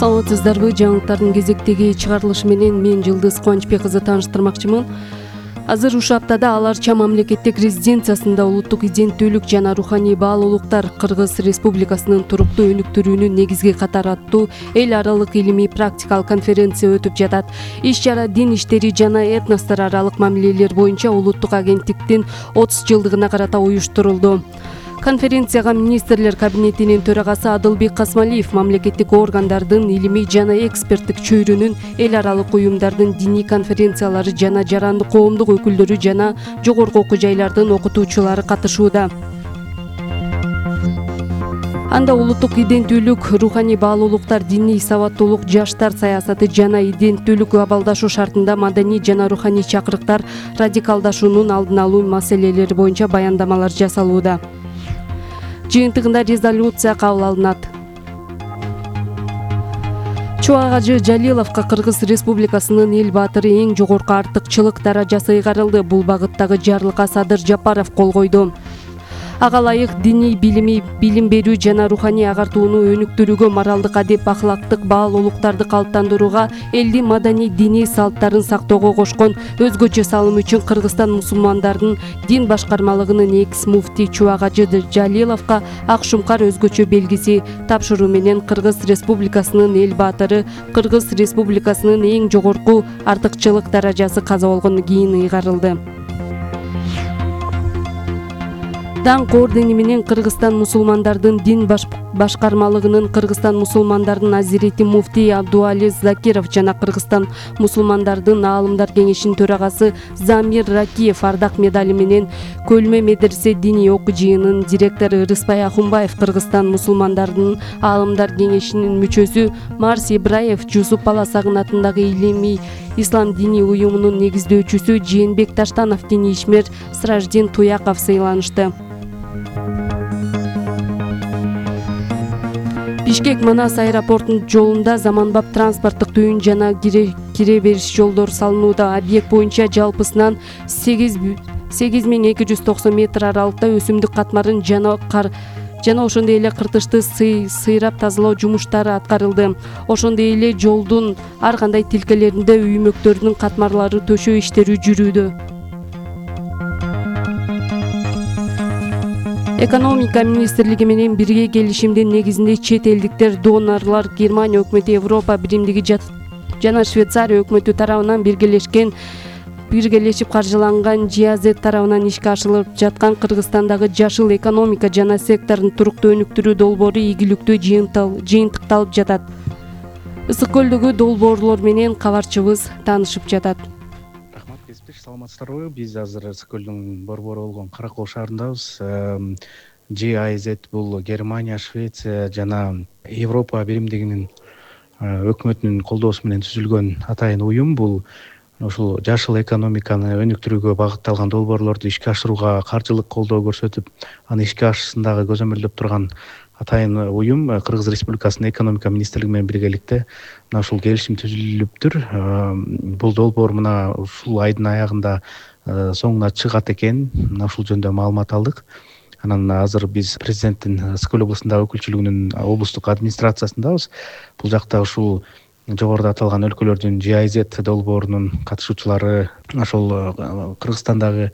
Саламатсыздарбы? Жаңылыктардын кезектеги чыгарылышы менен мен Жылдыз Кубанычбек кызы тааныштырмакчымын. Азыр ушул аптада Ал Арча мамлекеттик резиденциясында улуттук иденттүүлүк жана руханий баалуулуктар Кыргыз Республикасынын туруктуу өнүктүрүүнүн негизги катары аттуу эл аралык илимий практикалык конференция өтүп жатат. Иш-чара дин иштери жана этностор аралык мамилелер боюнча улуттук агенттиктин 30 жылдыгына карата уюштурулду. Конференцияга министрлер кабинетинин төрагасы Адылбек Касмалиев мамлекеттик органдардын илимий жана эксперттик чөйрөнүн, эл аралык уюмдардын диний конференциялары жана жарандык коомдук өкүлдөрү жана жогорку окуу жайлардын окутуучулары катышууда. Анда улуттук иденттүүлүк, руханий баалуулуктар, диний сабаттуулук, жаштар саясаты жана иденттүүлүк абалдашуу шартында маданий жана руханий чакырыктар, радикалдашуунун алдын алуу маселелери боюнча баяндамалар жасалууда. Жыйынтыгында резолюция кабыл алынат. Чубак Жалиловго Кыргыз Республикасынын эл баатыры эң жогорку артыкчылык даражасы ыйгарылды. Бул багыттагы жарлыкка Садыр Жапаров кол койду. Ага ылайык диний билим берүү жана руханий агартууну өнүктүрүүгө, моралдык адеп ахлактык баалуулуктарды калыптандырууга, элдин маданий диний салттарын сактоого кошкон өзгөчө салым үчүн Кыргызстан мусулмандардын дин башкармалыгынын экс-муфти Чубак Жалиловго ак шумкар өзгөчө белгиси тапшыруу менен Кыргыз Республикасынын эл баатыры, Кыргыз Республикасынын эң жогорку артыкчылык даражасы каза болгондон кийин ыйгарылды. Даңк ордени менен Кыргызстан мусулмандардын дин башкармалыгынын Кыргызстан мусулмандардын азирети муфти Абдуализ Закиров жана Кыргызстан мусулмандардын аалымдар кеңешинин төрагасы Замир Ракиев ардак медали менен Көлмө медресе диний окуу жыйынынын директору Рыспай Ахунбаев, Кыргызстан мусулмандардын аалымдар кеңешинин мүчөсү Марс Ибраев, Жусуп Баласагын атындагы илимий ислам диний уюмунун негиздөөчүсү Жээнбек Таштанов, диний ишмер Сраждин Туяков сыйланышты. Бишкек Манас аэропортунун жолунда заманбап транспорттук түйүн жана кире бериш жолдору салынууда. Объект боюнча жалпысынан 8290 метр аралыкта өсүмдүк катмарын жана ошондой эле кыртышты сыйрап тазалоо жумуштары аткарылды. Ошондой эле жолдун ар кандай тилкелеринде үймөктөрдүн катмарлары төшөө иштери жүрүүдө. Экономика министрлиги менен бирге келишимдин негизинде чет элдиктер донорлор Германия өкмөтү, Европа биримдиги жана Швейцария өкмөтү тарабынан биргелешип каржыланган GAZ тарабынан ишке ашырылып жаткан Кыргызстандагы жашыл экономика жана сектордун туруктуу өнүктүрүү долбоору ийгиликтүү жыйынтыкталып жатат. Ысык көлдөгү долбоорлор менен кабарчыбыз таанышып жатат. Саламатсыздарбы? Биз азыр Ысык көлдүн борбору болгон Каракол шаарындабыз. GAZ бул Германия, Швеция жана Европа биримдигинин өкмөтүнүн колдоосу менен түзүлгөн атайын уюм. Бул ушул жашыл экономиканы өнүктүрүүгө багытталган долбоорлорду ишке ашырууга каржылык колдоо көрсөтүп, аны ишке ашырышындагы көзөмөлдөп турган атайын уюм. Кыргыз Республикасынын экономика министрлиги менен биргеликте мына ушул келишим түзүлүптүр. Бул долбоор мына ушул айдын аягында соңуна чыгат экен. Мына ушул жөнүндө маалымат алдык. Анан азыр биз президенттин Ысык көл облусундагы өкүлчүлүгүнүн облустук администрациясындабыз. Бул жакта ушул жогоруда аталган өлкөлөрдүн GAZ долбоорунун катышуучулары, ошол Кыргызстандагы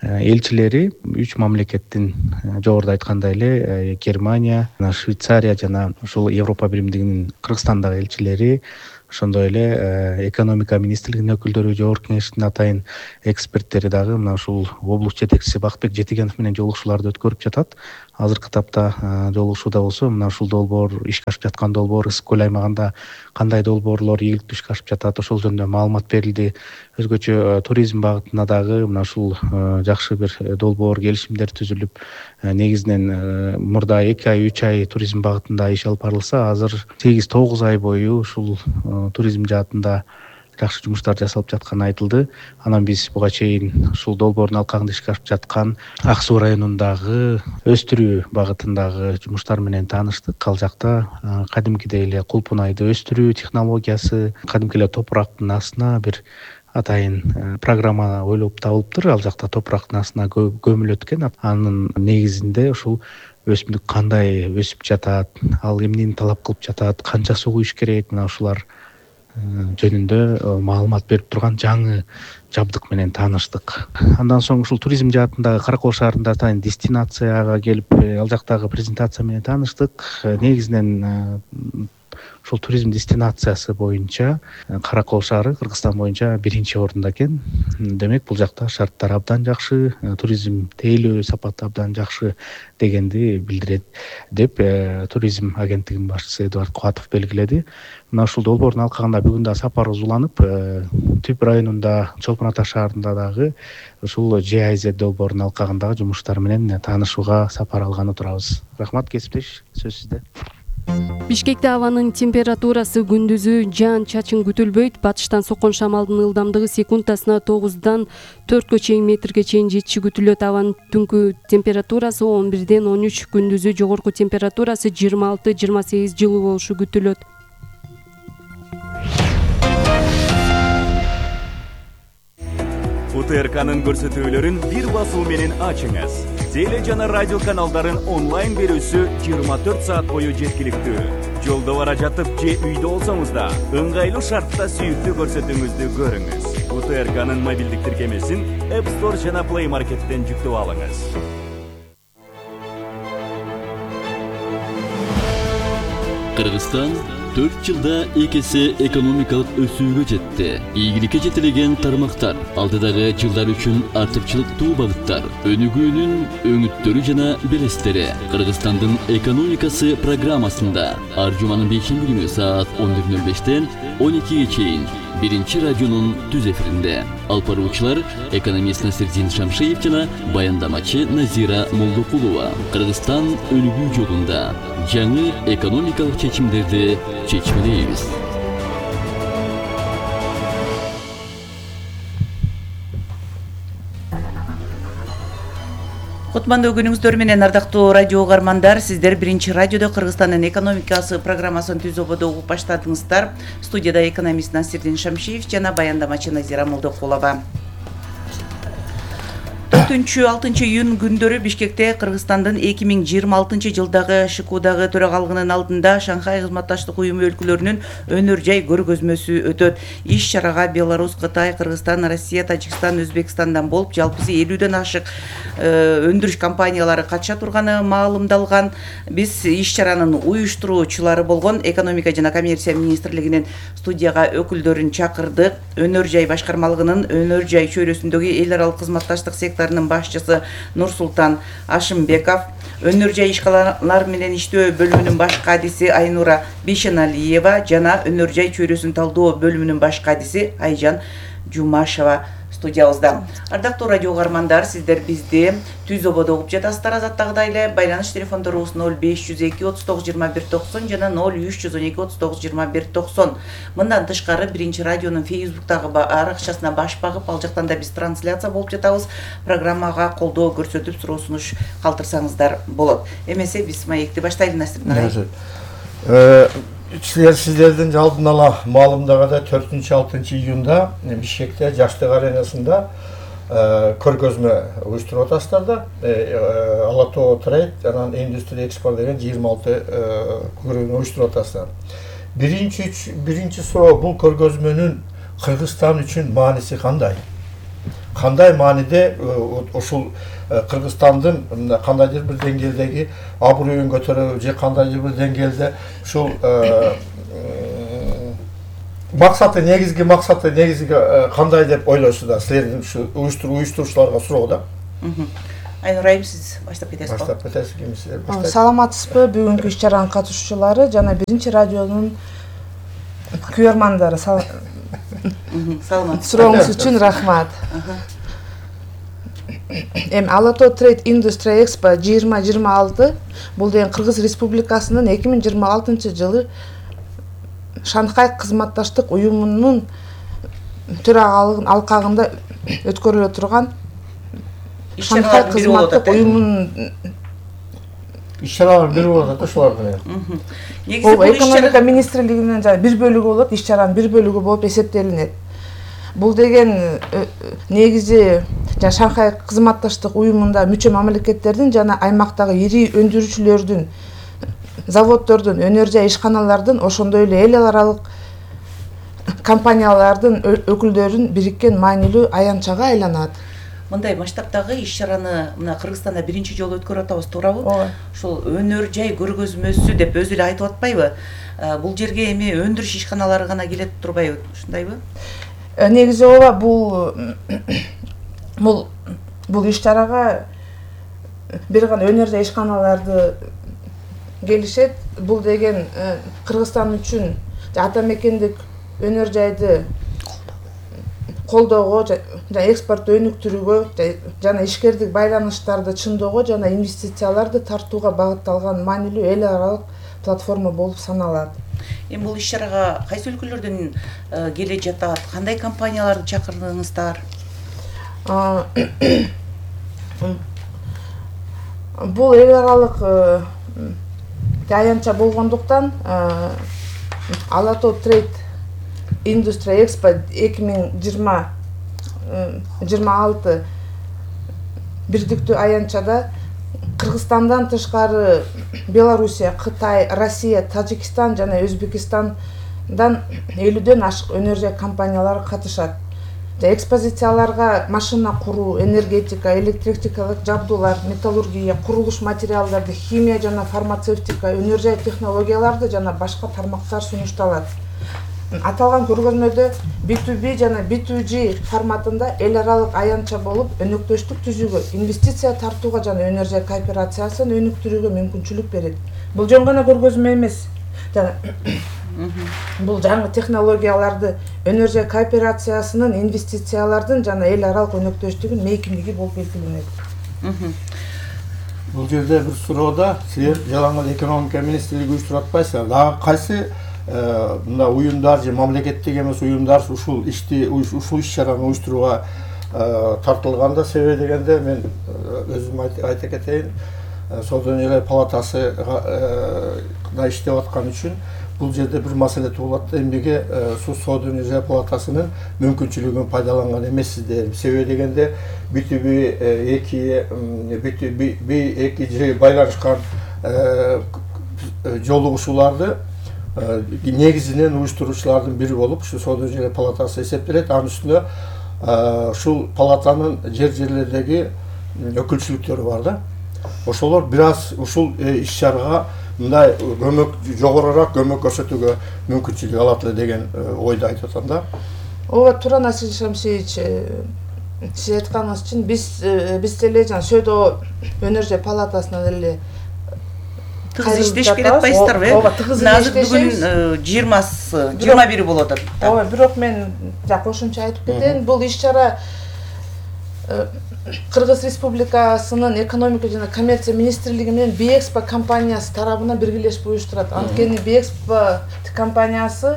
элчилери 3 мамлекеттин жогоруда айткандай эле Германия, Швейцария жана ушул Европа биримдигинин Кыргызстандагы элчилери, ошондой эле экономика министрлигинин өкүлдөрү, жогорку кеңештин атайын эксперттери дагы мына ушул облус жетекчиси Бакытбек Жетигенов менен жолугушууларды өткөрүп жатат. Азыркы тапта жолугушууда болсо мына ушул долбоор, ишке ашып жаткан долбоор Ысык көл аймагында кандай долбоорлор ийгиликтүү ишке ашып жатат, ошол жөнүндө маалымат берилди. Өзгөчө туризм багытына дагы мына ушул жакшы бир долбоор, келишимдер түзүлүп, негизинен мурда 2 ай 3 ай туризм багытында иш алып барылса, азыр 8-9 ай бою ушул туризм жаатында жакшы жумуштар жасалып жатканы айтылды. Анан биз буга чейин ушул долбоордун алкагында ишке ашып жаткан Ак Суу районундагы өстүрүү багытындагы жумуштар менен тааныштык. Ал жакта кадимкидей эле кулпунайды өстүрүү технологиясы, кадимки эле топурактын астына бир атайын программа ойлоп табылыптыр. Ал жакта топурактын астына көмүлөт экен. Анын негизинде ушул өсүмдүк кандай өсүп жатат, ал эмнени талап кылып жатат, канча суу куюш керек, мына ушулар жөнүндө маалымат берип турган жаңы жабдык менен тааныштык. Андан соң ушул туризм жаатындагы Каракол шаарында атайын дестинацияга келип, ал жактагы презентация менен тааныштык. Негизинен ушул туризм дестинациясы боюнча Каракол шаары Кыргызстан боюнча 1-орунда экен. Демек бул жакта шарттар абдан жакшы, туризм тейлөө сапаты абдан жакшы дегенди билдирет деп туризм агенттигинин башчысы Эдуард Кубатов белгиледи. Мына ушул долбоордун алкагында бүгүн да сапарыбыз уланып, Түп районунда Чолпон Ата шаарында дагы ушул GIZ долбоорунун алкагындагы жумуштар менен таанышууга сапар алганы турабыз. Рахмат, кесиптеш, сөз сизде. Бишкекте абанын температурасы күндүзү жаан-чачын күтүлбөйт. Батыштан соккон шамалдын ылдамдыгы секундасына 9-дан 4 чейин метрге чейин жетиши күтүлөт. Абанын түнкү температурасы 11-ден 13, күндүзү жогорку температурасы 26-28 жылуу болушу күтүлөт. УТРКнын көрсөтүүлөрүн бир басуу менен ачыңыз. Теле жана радио каналдарын онлайн берүүсү 24 саат бою жеткиликтүү. Жолдо бара жатып же үйдө болсоңуз да ыңгайлуу шартта сүйүктүү көрсөтүүңүздү көрүңүз. УТРКнын мобилдик тиркемесин App Store жана Play Market'тен жүктөп алыңыз. Кыргызстан 4 жылда 2 эсе экономикалык өсүүгө жетти. Ийгиликке жетилген тармактар, алдыдагы жылдар үчүн артыкчылыктуу багыттар, өнүгүүнүн өңүттөрү жана белестери. Кыргызстандын экономикасы программасында ар жуманын 5 күнү саат 11:05-тен 12-ге чейин 1-радионун түз эфиринде. Алып баруучулар экономист Насирдин Шамшиев жана баяндамачы Назира Молдокулова. Кыргызстан өнүгүү жолунда жаңы экономикалык чечимдерди чечмелейбиз. Кутмандуу күнүңүздөр менен ардактуу радио угармандар, сиздер 1-радиодо Кыргызстандын экономикасы программасын түз ободо угуп баштадыңыздар. Студияда экономист Насирдин Шамшиев жана баяндамачы Назира Молдокулова. 4-6 июнь күндөрү Бишкекте Кыргызстандын 2026 жылдагы ШКУдагы төрагалыгынын алдында Шанхай кызматташтык уюму өлкөлөрүнүн өнөр жай көргөзмөсү өтөт. Иш чарага Беларусь, Кытай, Кыргызстан, Россия, Тажикстан, Өзбекстандан болуп, жалпысы 50ден ашык өндүрүш компаниялары катыша турганы маалымдалган. Биз иш чаранын уюштуруучулары болгон Экономика жана коммерция министрлигинин студияга өкүлдөрүн чакырдык. Өнөр жай башкармалыгынын өнөр жай чөйрөсүндөгү эл аралык кызматташтык секторунун башчысы Нурсултан Ашымбеков, өнөр жай ишканалар менен иштөө бөлүмүнүн баш кадиси Айнура Бишеналиева жана өнөр жай чөйрөсүн талдоо бөлүмүнүн баш кадиси Айжан Жумашева студиябызда. Ардактуу радио угармандар, сиздер бизди түз ободо угуп жатасыздар. Азаттагыдай эле байланыш телефондорубуз 0502 39 21 90 жана 0312 39 21 90. Мындан тышкары 1-радионун Facebook'тагы аракчасына баш багып, ал жактан да биз трансляция болуп жатабыз. Программага колдоо көрсөтүп, суроо сунуш калтырсаңыздар болот. Эмесе биз маекти баштайлы, Насир. Сиздердин алдын ала маалымдагандай 4-6 июнда Бишкекте Жаштык аренасында көргөзмө уюштуруп атасыздар да. Алатоо Трейд анан Индустрия Экспорт деген 26 көргөзмө уюштуруп атасыздар. Биринчи суроо, бул көргөзмөнүн Кыргызстан үчүн мааниси кандай? Кандай мааниде ушул Кыргызстандын кандайдыр бир деңгээлдеги абруйун көтөрүү же кандайдыр бир деңгээлде ушул негизги максаты кандай деп ойлойсуздар? Силердин уюштуруучуларга суроо да. Айнурайым, сиз баштап кетесиз. Баштап кетесиз, кимсиз? Саламатсызбы бүгүнкү иш чаранын катышуучулары жана 1-радионун көрөрмандары. Саламат. Сурооңуз үчүн рахмат. Алатоо Trade Industry Expo 2026 бул деген Кыргыз Республикасынын 2026 жылы Шанхай кызматташтык уюмунун төрагалыгынын алкагында өткөрүлө турган Шанхай кызматтык уюмунун иш-чаралар бир болот да ошолордун. Бул экономика министрлигинин бир бөлүгү болот, иш-чаранын бир бөлүгү болуп эсептелинет. бул деген негизи Шанхай кызматташтык уюмунда мүчө мамлекеттердин жана аймактагы ири өндүрүүчүлөрдүн, заводдордун, өнөр жай ишканалардын, ошондой эле эл аралык компаниялардын өкүлдөрүн бириккен маанилүү аянтчага айланат. Мындай масштабтагы иш-чараны мына Кыргызстанда биринчи жолу өткөрүп атабыз, туурабы? Ушул өнөр жай көргөзмөсү деп өзү эле айтып атпайбы? Бул жерге эми өндүрүш ишканалары гана келет турбайбы? Ушундайбы? Негизи ооба, бул иш-чарага бир гана өнөр жай ишканаларды келишет. Бул деген Кыргызстан үчүн ата мекендик өнөр жайды колдоого жана экспортту өнүктүрүүгө жана ишкердик байланыштарды чыңдоого жана инвестицияларды тартууга багытталган маанилүү эл аралык платформа болуп саналат. Эми бул иш-чарага кайсы өлкөлөрдөн келе жатат? Кандай компанияларды чакырдыңыздар? Бул эл аралык аянтча болгондуктан Алато Trade Industry Expo 2026 бирдиктүү аянтчада Кыргызстандан тышкары Белоруссия, Кытай, Россия, Тажикстан жана Өзбекистандан 50дөн ашык өнөр жай компаниялары катышат. Экспозицияларга машина куруу, энергетика, электротехникалык жабдуулар, металлургия, курулуш материалдарды, химия жана фармацевтика, өнөр жай технологияларды жана башка тармактар сунушталат. Аталган көргөзмөдө B2B жана B2G форматында эл аралык аянтча болуп, өнөктөштүк түзүүгө, инвестиция тартууга жана өнөр жай кооперациясын өнүктүрүүгө мүмкүнчүлүк берет. Бул жөн гана көргөзмө эмес. Бул жаңы технологияларды өнөр жай кооперациясынын, инвестициялардын жана эл аралык өнөктөштүгүн мейкиндиги болуп белгиленет. Бул жерде бир суроода силер жалаң экономика министрлиги уюштуруп атпайсыздар. Дагы кайсы мына уюмдар же мамлекеттик эмес уюмдар ушул иш-чараны уюштурууга тартылганда? Себеби дегенде мен өзүм айта кетейин, Соода өнөр палатасына иштеп аткан үчүн бул жерде бир маселе туулат. Эмнеге Соода өнөр палатасынын мүмкүнчүлүгүн пайдаланган эмессиздер? Себеби дегенде B2B байланышкан жолугушууларды негизинен уюштуруучулардын бири болуп ушу Соода өнөр палатасы эсептелет. Анын үстүнө ушул палатанын жерлердеги өкүлчүлүктөрү бар да. Ошолор бир аз ушул иш-чарага мындай жогорураак көмөк көрсөтүүгө мүмкүнчүлүк алат эле деген ойду айтып атам да. Ооба, туура Насир Шамшиевич, сиз айтканыңыз үчүн биз деле жана Сөөдө өнөр жай палатасынан эле тыгыз иштеш керек атпайсыздарбы? Ооба, тыгыз иштешебиз. Бүгүн 20-21 болуп атат. Ооба, бирок мен кошумча айтып кетейин. Бул иш-чара Кыргыз Республикасынын экономика жана коммерция министрлиги менен Биэкспо компаниясы тарабынан биргелешип уюштурат. Анткени Биэкспо компаниясы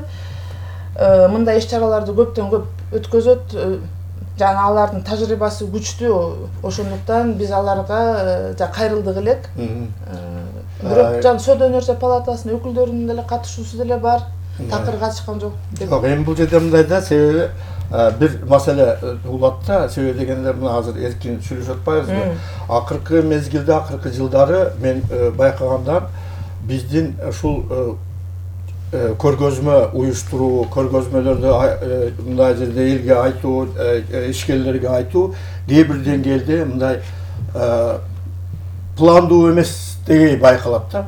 мындай иш-чараларды көптөн көп өткөзөт, жана алардын тажрыйбасы күчтүү. Ошондуктан биз аларга кайрылдык элек. Бирок Сөөдө өнөр жай палатасынын өкүлдөрүнүн деле катышуусу деле бар. Такыр качкан жок. Жок, эми бул жерде мындай да, себеби бир маселе туулат да. Себеби дегенде мына азыр эркин сүйлөшүп атпайбызбы? Акыркы мезгилде, акыркы жылдары мен байкаганда биздин ушул көргөзмө уюштуруу, көргөзмөлөрдү мындай жерде элге айтуу, ишкерлерге айтуу кээ бир деңгээлде мындай пландуу эместиги байкалат да.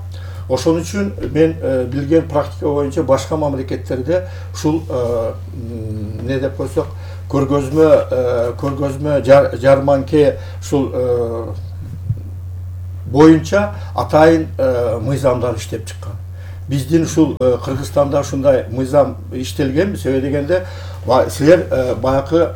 Ошон үчүн мен билген практика боюнча башка мамлекеттерде ушул эмне деп койсок, көргөзмө жарманке ушул боюнча атайын мыйзамдар иштеп чыккан. Биздин ушул Кыргызстанда ушундай мыйзам иштелген. Себеби дегенде силер баягы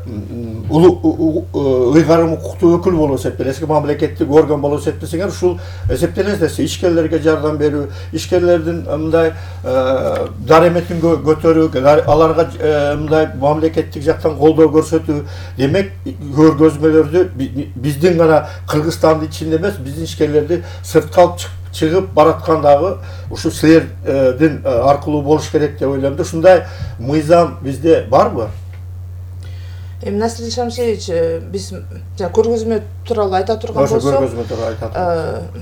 ыйгарым укуктуу өкүл болуп эсептелесиз, мамлекеттик орган болуп эсептесеңер, ушул эсептелесиз. Ишкерлерге жардам берүү, ишкерлердин мындай дареметин көтөрүү, аларга мындай мамлекеттик жактан колдоо көрсөтүү. Демек, көргөзмөлөрдү биздин гана Кыргызстандын ичинде эмес, биздин ишкерлерди сыртка алып чыгып бараткандагы ушу силердин аркылуу болуш керек деп ойлойм да. Ушундай мыйзам бизде барбы? Эми Насир Шамшевич, биз көргөзмө тууралуу айта турган болсок, көргөзмө тууралуу айта турганбыз.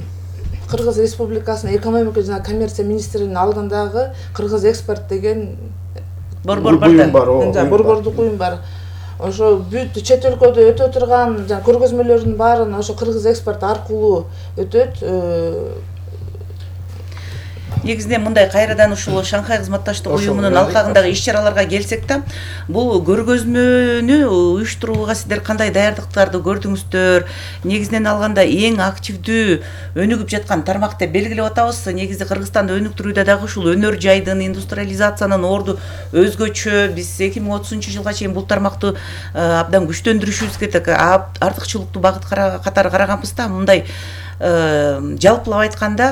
Кыргыз Республикасынын экономика жана коммерция министринин алдындагы Кыргыз экспорт деген борбор бар. Борбордук уюм бар. Ошо бүт чет өлкөдө өтө турган көргөзмөлөрдүн баарын ошо Кыргыз экспорт аркылуу өтөт. Негизинен мындай кайрадан ушул Шанхай кызматташтык уюмунун алкагындагы иш-чараларга келсек да, бул көргөзмөнү уюштурууга сиздер кандай даярдыктарды көрдүңүздөр? Негизинен алганда эң активдүү өнүгүп жаткан тармак деп белгилеп атабыз. Негизи Кыргызстанды өнүктүрүүдө дагы ушул өнөр жайдын, индустриализациянын орду өзгөчө. Биз 2030-жылга чейин бул тармакты абдан күчтөндүрүшүбүз керек. Артыкчылыктуу багыт катары караганбыз да, мындай жалпылап айтканда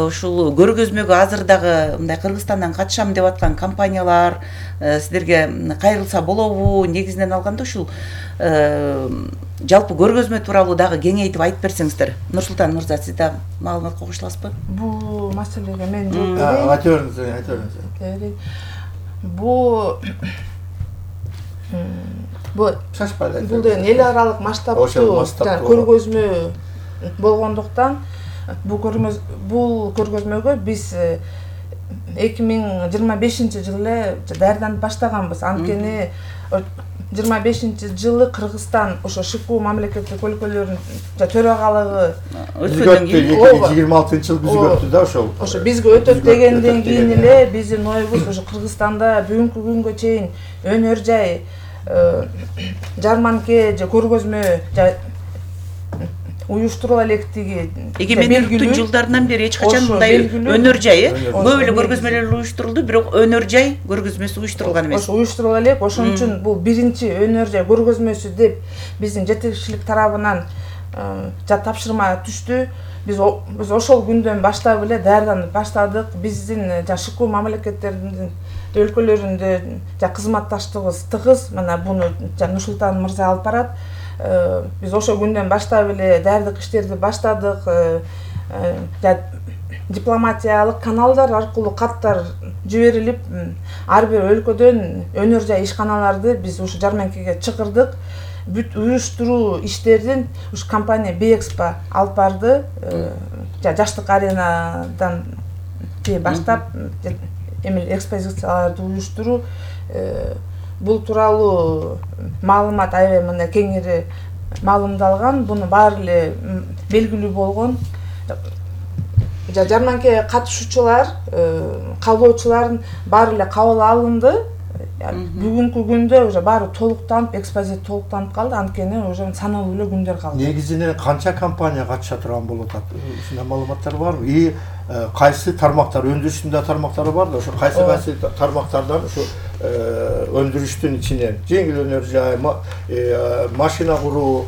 ушул көргөзмөгө азыр дагы мындай Кыргызстандан катышам деп аткан компаниялар сиздерге кайрылса болобу? Негизинен алганда ушул жалпы көргөзмө тууралуу дагы кеңейтип айтып берсеңиздер. Нурсултан мырза, сиз да маалымат кошуласызбы? Бул маселеге мен жооп берейин. Айта бериңиз. Бул деген эл аралык масштабтуу көргөзмө болгондуктан бул көргөзмөгө биз 2025-жылы даярданып баштаганбыз. Анткени 25-жылы Кыргызстан ошо ШКУ мамлекеттик өлкөлөрүнүн төрагалыгы өткөндөн кийин 26-жыл бизге өттү да ошол. Ошо бизге өтөт дегенден кийин эле биздин оюбуз ошо Кыргызстанда бүгүнкү күнгө чейин өнөр жай, жарманке же көргөзмө уюштурула электиги эгемендиктин жылдарынан бери эч качан мындай өнөр жай көп эле көргөзмөлөр уюштурулду, бирок өнөр жай көргөзмөсү уюштурулган эмес. Ошо уюштурула элек, ошон үчүн бул биринчи өнөр жай көргөзмөсү деп биздин жетекчилик тарабынан тапшырма түштү. Биз ошол күндөн баштап эле даярданып баштадык. Биздин ШКУ мамлекеттердин өлкөлөрүндө кызматташтыгыбыз тыгыз. Мына буну Нурсултан мырза алып барат. Биз ошол күндөн баштап эле даярдык иштерди баштадык. Дипломатиялык каналдар аркылуу каттар жиберилип, ар бир өлкөдөн өнөр жай ишканаларды биз ушу жарманкеге чакырдык. Бүт уюштуруу иштердин ушу компания Бэкспо алып барды. Жаштык аренадан баштап эми экспозицияларды уюштуруу, бул тууралуу маалымат аябай мындай кеңири маалымдалган. Буну баары эле белгилүү болгон. Жарманке катышуучулар, каалоочулардын баары эле кабыл алынды. Бүгүнкү күндө уже баары толуктанып, экспозиция толуктанып калды. Анткени уже саналуу эле күндөр калды. Негизинен канча компания катыша турган болуп атат? Ушундай маалыматтар барбы? И кайсы тармактар, өндүрүштүн тармактары бар да, ошо кайсы тармактардан ушу өндүрүштүн ичинен жеңил өнөр жай, машина куруу,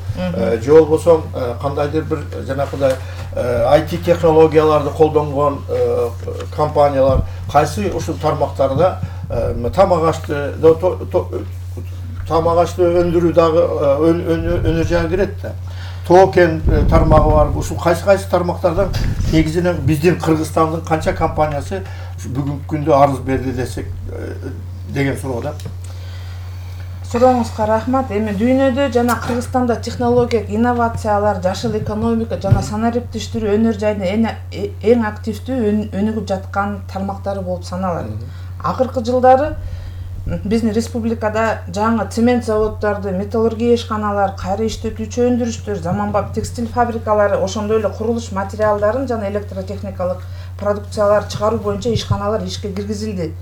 же болбосо кандайдыр бир жанакыдай IT технологияларды колдонгон компаниялар кайсы ушул тармактарда тамак ашты өндүрүү дагы өнөр жайга кирет да. Токен тармагы бар. Ушул кайсы тармактардан негизинен биздин Кыргызстандын канча компаниясы бүгүнкү күндө арыз берди десек деген суроо да. Сурооңузга рахмат. Эми дүйнөдө жана Кыргызстанда технологиялык инновациялар, жашыл экономика жана санариптештирүү өнөр жайдын эң активдүү өнүгүп жаткан тармактары болуп саналат. Акыркы жылдары биздин республикада жаңы цемент заводдорду, металлургия ишканалар, кайра иштетүүчү өндүрүштөр, заманбап текстиль фабрикалары, ошондой эле курулуш материалдарын жана электротехникалык продукциялар чыгаруу боюнча ишканалар ишке киргизилди.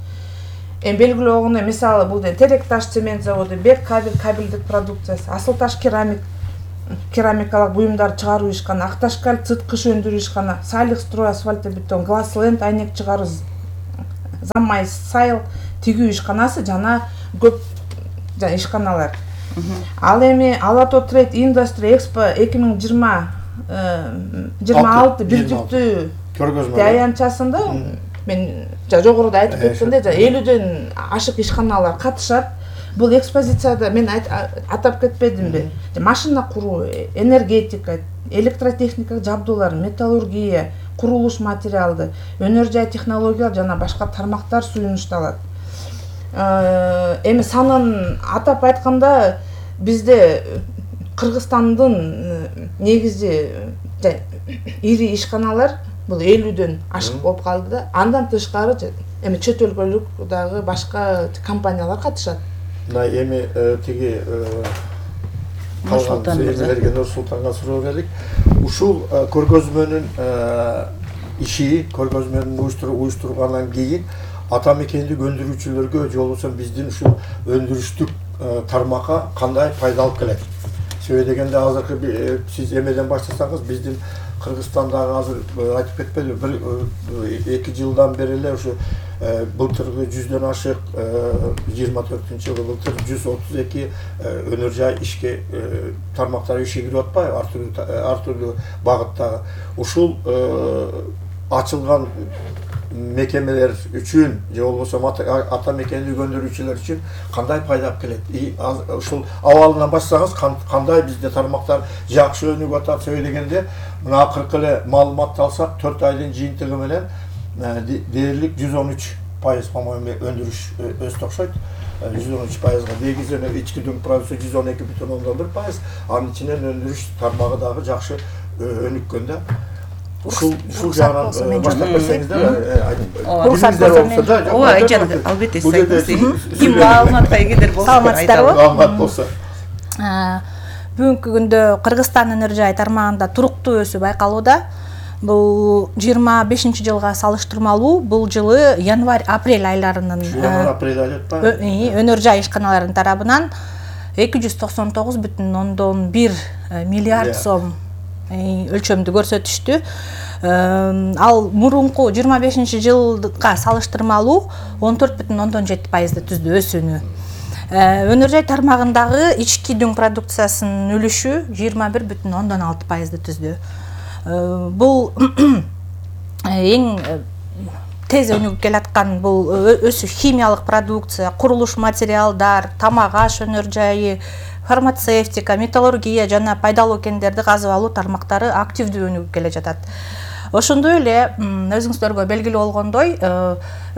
Белгилүү болгондой, мисалы бул Терек таш цемент заводу, Бек кабелдик продукциясы, Асыл таш керамикалык буюмдар чыгаруу ишкана, Акташкал цыткыш өндүрүү ишкана, Салих строй асфальтобетон, Глассленд айнек чыгаруу, Заммай сайыл тигүү ишканасы жана көп ишканалар. Ал эми Алато Trade Industry Expo 2026 бирдиктүү аянтчасында мен жогоруда айтып кеткендей 50дөн ашык ишканалар катышат. Бул экспозицияда мен атап кетпедимби? Машина куруу, энергетика, электротехника жабдуулар, металлургия, курулуш материалды, өнөр жай технологиялар жана башка тармактар сунушталат. Эми санын атап айтканда бизде Кыргызстандын негизи ири ишканалар бул 50дөн ашык болуп калды да. Андан тышкары эми чет өлкөлүк дагы башка компаниялар катышат. Мына эми тиги калган сөйлөгөн Нурсултанга суроо бердик. Ушул көргөзмөнүн иши, көргөзмөнүн уюштургандан кийин ата мекендик өндүрүүчүлөргө же болбосо биздин ушул өндүрүштүк тармакка кандай пайда алып келет? Себеби дегенде азыркы сиз эмеден баштасаңыз биздин Кыргызстандагы азыр айтып кетпедиби, 2 жылдан бери эле ушу былтыркы 100дөн ашык 24-жылы былтыр 132 өнөр жай ишке тармактар ишке кирип атпайбы, ар түрдүү багыттагы. Ушул ачылган мекемелер үчүн же болбосо ата мекендик өндүрүүчүлөр үчүн кандай пайда алып келет? Ушул абалынан баштасаңыз кандай бизде тармактар жакшы өнүгүп атат? Себеби дегенде мына акыркы эле маалыматты алсак 4 айдын жыйынтыгы менен дээрлик 113%, по-моему, өндүрүш өстү окшойт. 113%. Негизинен ички дүң продукция 112,1%, анын ичинен өндүрүш тармагы дагы жакшы өнүккөн да. Ушул жагынан баштап берсеңиздер, ооба, айжан, албетте сиз айтыңыз. Ким маалыматка эгедер болсо саламатсыздарбы? Маалымат болсо. Бүгүнкү күндө Кыргызстан өнөр жай тармагында туруктуу өсүү байкалууда. Бул 25-жылга салыштырмалуу бул жылы январь-апрель айларынын өнөр жай ишканаларынын тарабынан 299,1 миллиард сом өлчөмдү көрсөтүштү. Ал мурунку 25-жылга салыштырмалуу 14,7% түздү өсүүнү. Өнөр жай тармагындагы ички дүң продукциясынын үлүшү 21,6% түздү. Бул эң тез өнүгүп келаткан бул өсүү химиялык продукция, курулуш материалдар, тамак аш өнөр жайы, фармацевтика, металлургия жана пайдалуу кендерди казып алуу тармактары активдүү өнүгүп келе жатат. Ошондой эле өзүңүздөргө белгилүү болгондой,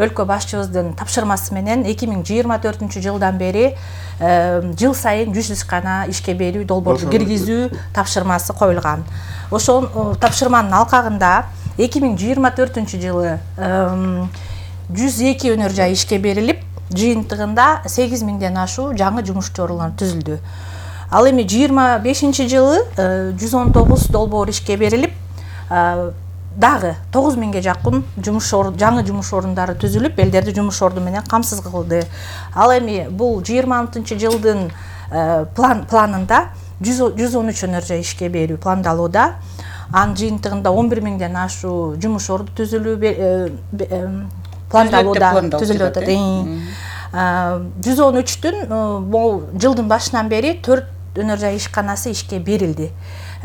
өлкө башчыбыздын тапшырмасы менен 2024-жылдан бери жыл сайын 100 ишкана ишке берүү, долбоорду киргизүү тапшырмасы коюлган. Ошол тапшырманын алкагында 2024-жылы 102 өнөр жай ишке берилип, жыйынтыгында 8000ден ашуу жаңы жумуш орунлары түзүлдү. Ал эми 25-жылы 119 долбоор ишке берилип, дагы 9000ге жакын жаңы жумуш орундары түзүлүп, элдерди жумуш орду менен камсыз кылды. Ал эми бул 26-жылдын планында 113 өнөр жай ишке берүү пландалууда. Анын жыйынтыгында 11000ден ашуу жумуш орду түзүлүү пландалууда түзүлүп атат. 113-түн бул жылдын башынан бери 4 өнөр жай ишканасы ишке берилди.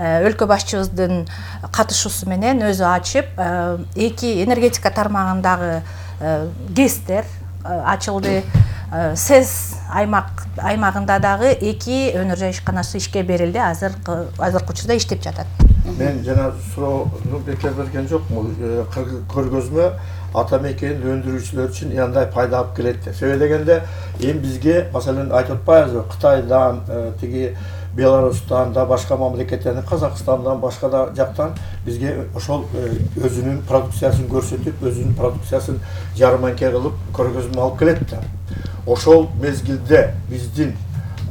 Өлкө башчыбыздын катышуусу менен өзү ачып, 2 энергетика тармагындагы ГЭСтер ачылды. СЭС аймагында дагы 2 өнөр жай ишканасы ишке берилди. Азыркы учурда иштеп жатат. Мен жана суроону бекер берген жокмун. Көргөзмө ата мекенди өндүрүүчүлөр үчүн кандай пайда алып келет деп. Себеби дегенде эми бизге, маселен, айтып атпайбызбы, Кытайдан, тиги Беларустан да, башка мамлекеттерден, Казакстандан, башка да жактан бизге ошол өзүнүн продукциясын көрсөтүп, өзүнүн продукциясын жарманке кылып көргөзмө алып келет да. Ошол мезгилде биздин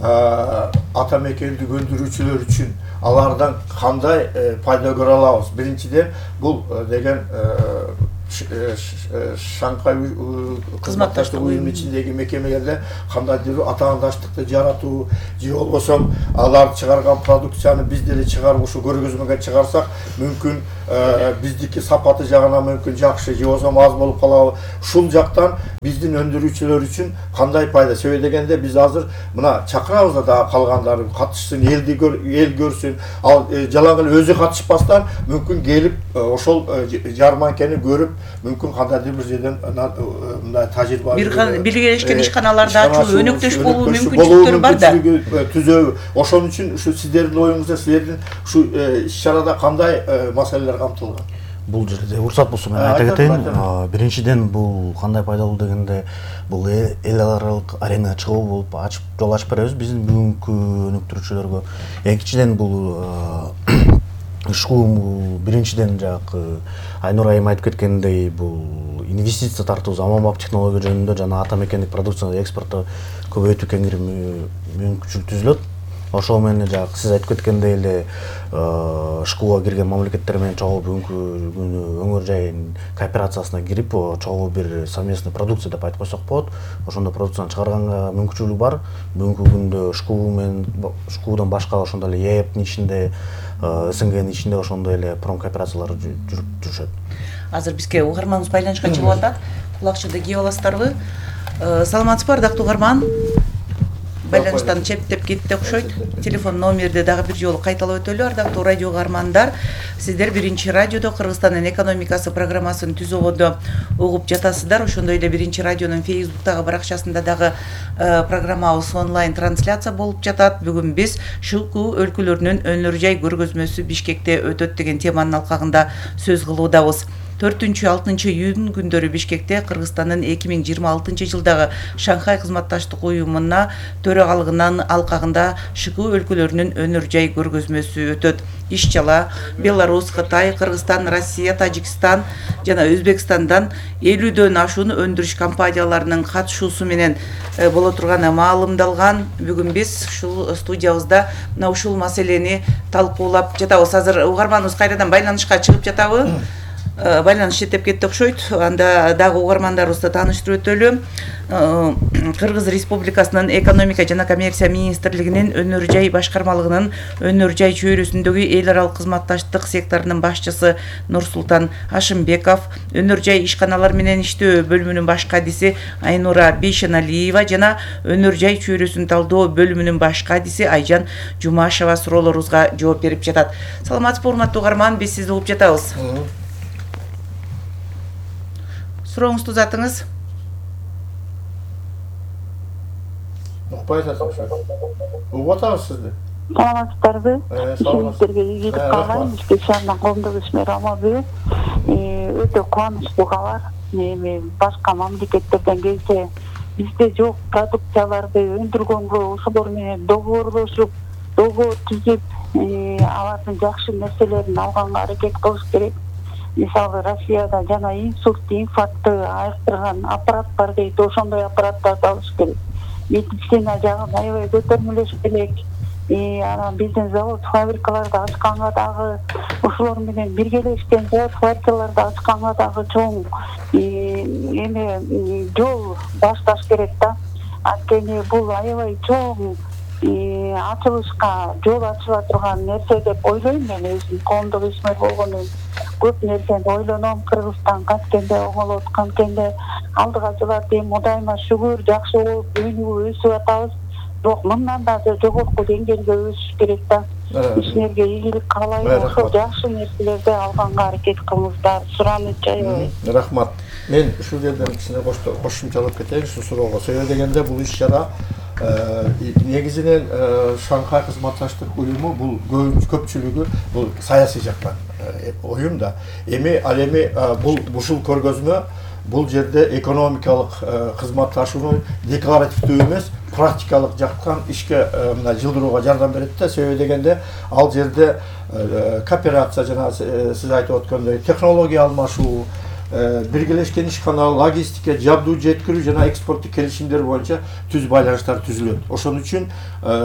ата мекендик өндүрүүчүлөр үчүн алардан кандай пайда көрө алабыз? Биринчиден, бул деген Шанхай кызматташтык уюму ичиндеги мекемелерде кандайдыр атаандаштыкты жаратуу, же болбосо алар чыгарган продукцияны биз деле чыгарып ушу көргөзмөгө чыгарсак, мүмкүн биздики сапаты жагынан мүмкүн жакшы, же болбосо аз болуп калабы. Ушул жактан биздин өндүрүүчүлөр үчүн кандай пайда? Себеби дегенде биз азыр мына чакырабыз да калгандарын катышсын, эл көрсүн, ал жалаң эле өзү катышпастан мүмкүн келип ошол жарманкени көрүп, мүмкүн кандайдыр бир жерден мындай тажрыйба биргелешкен ишканаларда ачуу, өнөктөш болуу мүмкүнчүлүктөрү бар да. Түзөбү. Ошон үчүн ушу сиздердин оюңузда, силердин ушу иш-чарада кандай маселелер камтылган? бул жерде уруксат болсо мен айта кетейин. Биринчиден бул кандай пайдалуу дегенде бул эл аралык аренага чыгуу болуп жол ачып беребиз биздин бүгүнкү өнүктүрүүчүлөргө. Экинчиден бул ушул биринчиден жанагы Айнура айым айтып кеткендей бул инвестиция тартуу заманбап технология жөнүндө жана ата мекендик продукцияны экспортто көбөйтүү кеңири мүмкүнчүлүк түзүлөт. Ошол менен жанагы сиз айтып кеткендей эле ШКУга кирген мамлекеттер менен чогуу бүгүнкү күнү өңүр жай кооперациясына кирип чогуу бир совместный продукция деп айтып койсок болот. Ошондой продукцияны чыгарганга мүмкүнчүлүк бар. Бүгүнкү күндө ШКУ менен ШКУдан башка ошондой эле ЕЭПтин ичинде СНГнин ичинде ошондой эле промкооперациялар жүрүшөт. Азыр бизге угарманыбыз байланышка чыгып атат. Кулакчыды кийип аласыздарбы? Саламатсызбы, ардактуу угарман? Байланыштан чептеп кетти окшойт. Телефон номерди дагы бир жолу кайталап өтөлү. Ардактуу радио угармандар, сиздер Биринчи радиодо Кыргызстандын экономикасы программасын түзүүгөдө угуп жатасыздар. Ошондой эле Биринчи радионун Facebook'тагы баракчасында дагы программабыз онлайн трансляция болуп жатат. Бүгүн биз ШКУ өлкөлөрүнүн өнөр жай көргөзмөсү Бишкекте өтөт деген теманын алкагында сөз кылуудабыз. 4-6 июнь күндөрү Бишкекте Кыргызстандын 2026 жылдагы Шанхай кызматташтык уюмуна төрагалыгынын алкагында ШКУ өлкөлөрүнүн өнөр жай көргөзмөсү өтөт. Иш-чара Беларусь, Кытай, Кыргызстан, Россия, Тажикстан жана Өзбекстандан 50дөн ашуун өндүрүш компанияларынын катышуусу менен боло турганы маалымдалган. Бүгүн биз ушул студиябызда мына ушул маселени талкуулап жатабыз. Азыр угарманыбыз кайрадан байланышка чыгып жатабы? Байланыш четтеп кетти окшойт. Анда дагы угармандарыбызды тааныштырып өтөлү. Кыргыз Республикасынын экономика жана коммерция министрлигинин өнөр жай башкармалыгынын өнөр жай чөйрөсүндөгү эл аралык кызматташтык секторунун башчысы Нурсултан Ашымбеков, өнөр жай ишканалар менен иштөө бөлүмүнүн баш кадиси Айнура Бейшеналиева жана өнөр жай чөйрөсүн талдоо бөлүмүнүн баш кадиси Айжан Жумашева суроолорубузга жооп берип жатат. Саламатсызбы, урматтуу угарман, биз сизди угуп жатабыз. Сурооңузду затыңыз. Укпай атасыз. Угуп атабыз сизди. Саламатсыздарбы? Сиздерге ийгилик каалайм. Бишкек шаарынын коомдук ишмери Амалбек. Өтө кубанычтуу кабар. Эми башка мамлекеттерден келсе, бизде жок продукцияларды өндүргөнгө ошолор менен договорлошуп, договор түзүп, алардын жакшы нерселерин алганга аракет кылыш керек. Мисалы Россияда жана инфарктты айыктырган аппарат бар дейт, ошондой аппараттарды алыш керек. Медицина жагын аябай көтөрмөлөш керек. Анан биздин завод фабрикаларды ачканга дагы ошолор менен биргелешкен завод фабрикаларды ачканга дагы чоң жол башташ керек да. Анткени бул аябай чоң ачылышка жол ачыла турган нерсе деп ойлойм мен өзүм коомдук ишмер болгону. Көп нерсени ойлоном. Кыргызстан каткенде оңолот, канткенде алдыга жылат. Эми Кудайыма шүгүр, жакшы болуп өнүгүп өсүп атабыз. Бирок мындан да жогорку деңгээлге өсүш керек да. Ишмерге ийгилик каалайм. Ошол жакшы нерселерди алганга аракет кылыңыздар. Суроону жайбайм. Рахмат. Мен ушул жерден кичине кошумчалап кетейин ушул суроого. Себеби дегенде бул иш-чара негизинен Шанхай кызматташтык уюму бул көпчүлүгү бул саясий жактан уюм да. Эми ал эми бул ушул көргөзмө бул жерде экономикалык кызматташууну декларативдүү эмес, практикалык жактан ишке мына жылдырууга жардам берет да. Себеби дегенде ал жерде кооперация жана сиз айтып өткөндөй технология алмашуу, биргелешкен ишкана, логистика, жабдуу жеткирүү жана экспорттук келишимдер боюнча түз байланыштар түзүлөт. Ошон үчүн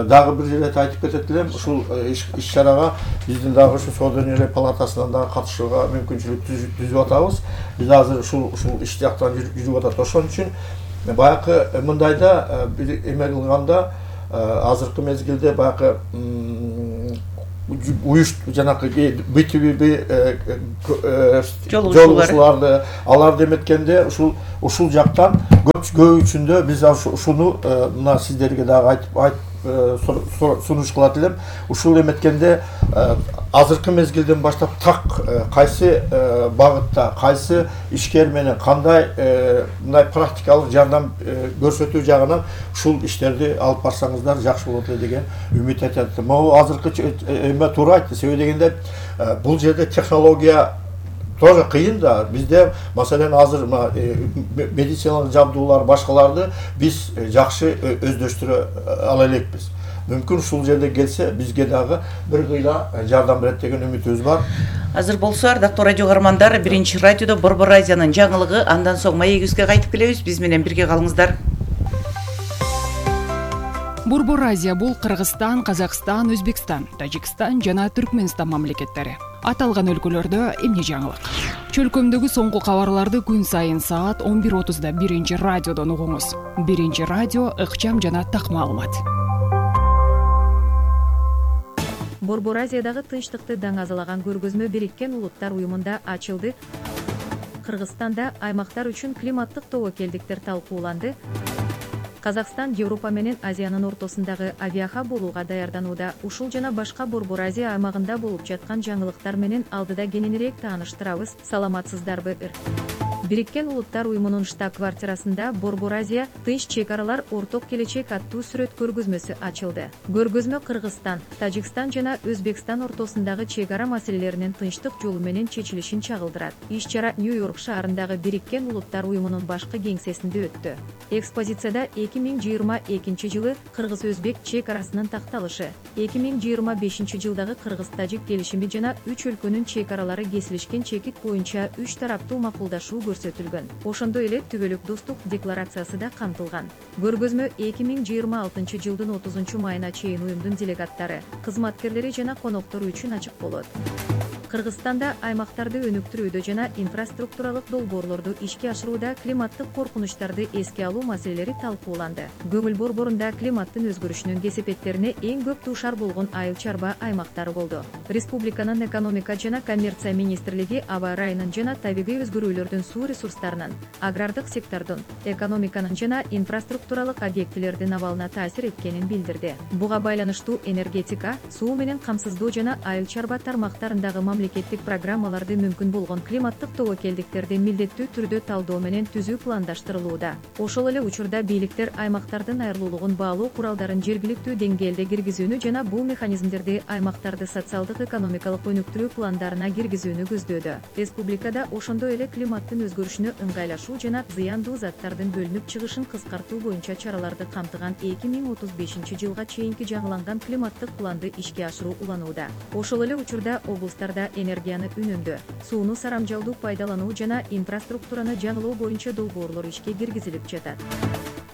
дагы бир жерде айтып кетет элем, ушул иш-чарага биздин дагы ушу Соода өнөр палатасынан дагы катышууга мүмкүнчүлүк түзүп атабыз. Биз азыр ушул иш жактан жүрүп атат. Ошон үчүн баягы мындайда бир эме кылганда азыркы мезгилде баягы жанакы БТВ жолугушууларды аларды эметкенде ушул жактан көбүчүндө биз ушуну мына сиздерге дагы айтып сунуш кылат элем. Ушул эметкенде азыркы мезгилден баштап так кайсы багытта, кайсы ишкер менен кандай мындай практикалык жардам көрсөтүү жагынан ушул иштерди алып барсаңыздар жакшы болот эле деген үмүт этет. Могу азыркы эме туура айтты. Себеби дегенде бул жерде технология тоже кыйын да. Бизде маселен азыр медициналык жабдуулар башкаларды биз жакшы өздөштүрө ала элекпиз. Мүмкүн ушул жерде келсе бизге дагы бир кыйла жардам берет деген үмүтүбүз бар. Азыр болсо ардактуу радио каармандар, биринчи радиодо Борбор Азиянын жаңылыгы, андан соң маегибизге кайтып келебиз. Биз менен бирге калыңыздар. Борбор Азия бул Кыргызстан, Казакстан, Өзбекстан, Тажикстан жана Түркмөнстан мамлекеттери. Аталган өлкөлөрдө эмне жаңылык? Чөлкөмдөгү соңку кабарларды күн сайын саат 11:30да биринчи радиодон угуңуз. Биринчи радио ыкчам жана так маалымат. Борбор Азиядагы тынчтыкты даңазалаган көргөзмө Бириккен Улуттар уюмунда ачылды. Кыргызстанда аймактар үчүн климаттык тобокелдиктер талкууланды. Казакстан Европа менен Азиянын ортосундагы авиахаб болууга даярданууда. Ушул жана башка Борбор Азия аймагында болуп жаткан жаңылыктар менен алдыда кененирээк тааныштырабыз. Саламатсыздарбы? Бириккен Улуттар уюмунун штаб-квартирасында Борбор Азия тынч чек аралар орток келечек аттуу сүрөт көргөзмөсү ачылды. Көргөзмө Кыргызстан, Тажикстан жана Өзбекстан ортосундагы чек ара маселелеринин тынчтык жолу менен чечилишин чагылдырат. Иш-чара Нью-Йорк шаарындагы Бириккен Улуттар уюмунун башкы кеңсесинде өттү. Экспозицияда 2022 жылы Кыргыз-Өзбек чек арасынын такталышы, 2025 жылдагы Кыргыз-Тажик келишими жана 3 өлкөнүн чек аралары кесилишкен чекит боюнча 3 тараптуу макулдашуу көрсөтүлгөн. Ошондой эле түбөлүк достук декларациясы да камтылган. Көргөзмө 2026 жылдын 30 майына чейин уюмдун делегаттары, кызматкерлери жана коноктору үчүн ачык болот. Кыргызстанда аймактарды өнүктүрүүдө жана инфраструктуралык долбоорлорду ишке ашырууда климаттык коркунучтарды эске алуу маселелери талкууланды. Көңүл борборунда климаттын өзгөрүшүнүн кесепеттерине эң көп дуушар болгон айыл чарба аймактары болду. Республиканын экономика жана коммерция министрлиги аба ырайынын жана табигый өзгөрүүлөрдүн суу ресурстарынын, агрардык сектордун, экономиканын жана инфраструктуралык объектилердин абалына таасир эткенин билдирди. Буга байланыштуу энергетика, суу менен камсыздоо жана айыл чарба тармактарындагы мамлекеттик программаларды мүмкүн болгон климаттык тобокелдиктерди милдеттүү түрдө талдоо менен түзүү пландаштырылууда. Ошол эле учурда бийликтер аймактардын айырылуулугун баалоо куралдарын жергиликтүү деңгээлде киргизүүнү жана бул механизмдерди аймактарды социалдык экономикалык өнүктүрүү пландарына киргизүүнү көздөөдө. Республикада ошондой эле климаттын өзгөрүшүнө ыңгайлашуу жана зыяндуу заттардын бөлүнүп чыгышын кыскартуу боюнча чараларды камтыган 2035 жылга чейинки жаңыланган климаттык планды ишке ашыруу уланууда. Ошол эле учурда облустарда энергияны үнөмдөө, сууну сарамжалдуу пайдалануу жана инфраструктураны жаңылоо боюнча долбоорлор ишке киргизилип жатат.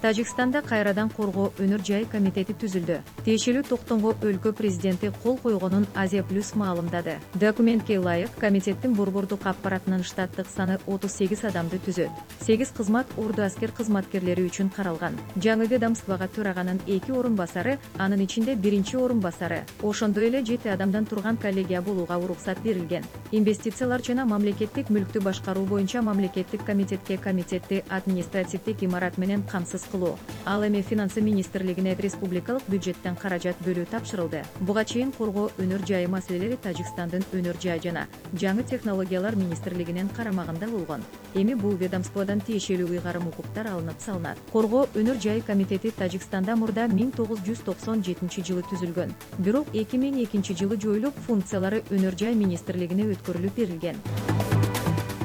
Тажикстанда кайрадан коргоо өнөр жай комитети түзүлдү. Тиешелүү токтомго өлкө президенти кол койгонун Азия Плюс маалымдады. Документке ылайык комитеттин борбордук аппаратынын штаттык саны 38 адамды түзөт. 8 кызмат орду аскер кызматкерлери үчүн каралган. Жаңы ведомствого төраганын 2 орун басары, анын ичинде 1-чи орун басары, ошондой эле 7 адамдан турган коллегия болууга уруксат берилген. Инвестициялар жана мамлекеттик мүлктү башкаруу боюнча мамлекеттик комитетке комитетти административдик имарат менен камсыз кылуу. Ал эми финансы министрлигине республикалык бюджеттен каражат бөлүү тапшырылды. Буга чейин коргоо өнөр жайы маселелери Тажикстандын өнөр жай жана жаңы технологиялар министрлигинин карамагында болгон. Эми бул ведомстводон тиешелүү ыйгарым укуктар алынып салынат. Коргоо өнөр жай комитети Тажикстанда мурда 1997 жылы түзүлгөн. Бирок 2002 жылы жоюлуп, функциялары өнөр жай министрлигине өткөрүлүп берилген.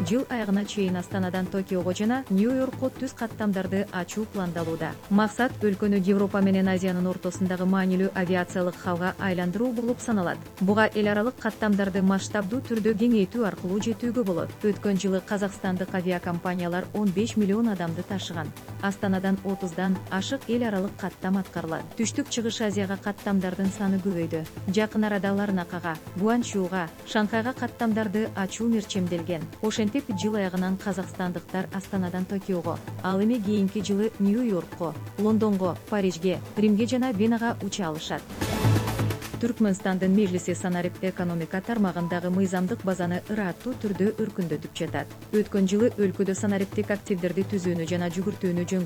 Жыл аягына чейин Астанадан Токиого жана Нью-Йоркко түз каттамдарды ачуу пландалууда. Максат өлкөнү Европа менен Азиянын ортосундагы маанилүү авиациялык хабга айландыруу болуп саналат. Буга эл аралык каттамдарды масштабдуу түрдө кеңейтүү аркылуу жетүүгө болот. Өткөн жылы казакстандык авиакомпаниялар 15 миллион адамды ташыган. Астанадан 30дан ашык эл аралык каттам аткарылат. Түштүк чыгыш Азияга каттамдардын саны көбөйдү. Жакын арада Ларнакага, Гуанчжоуга, Шанхайга каттамдарды ачуу мерчемделген. Ошентип жыл аягынан казакстандыктар Астанадан Токиого, ал эми кийинки жылы Нью-Йоркко, Лондонго, Парижге, Римге жана Венага уча алышат. Түркмөнстандын межлиси санарип экономика тармагындагы мыйзамдык базаны ыраттуу түрдө өркүндөтүп жатат. Өткөн жылы өлкөдө санариптик активдерди түзүүнү жана жүгүртүүнү жөнгө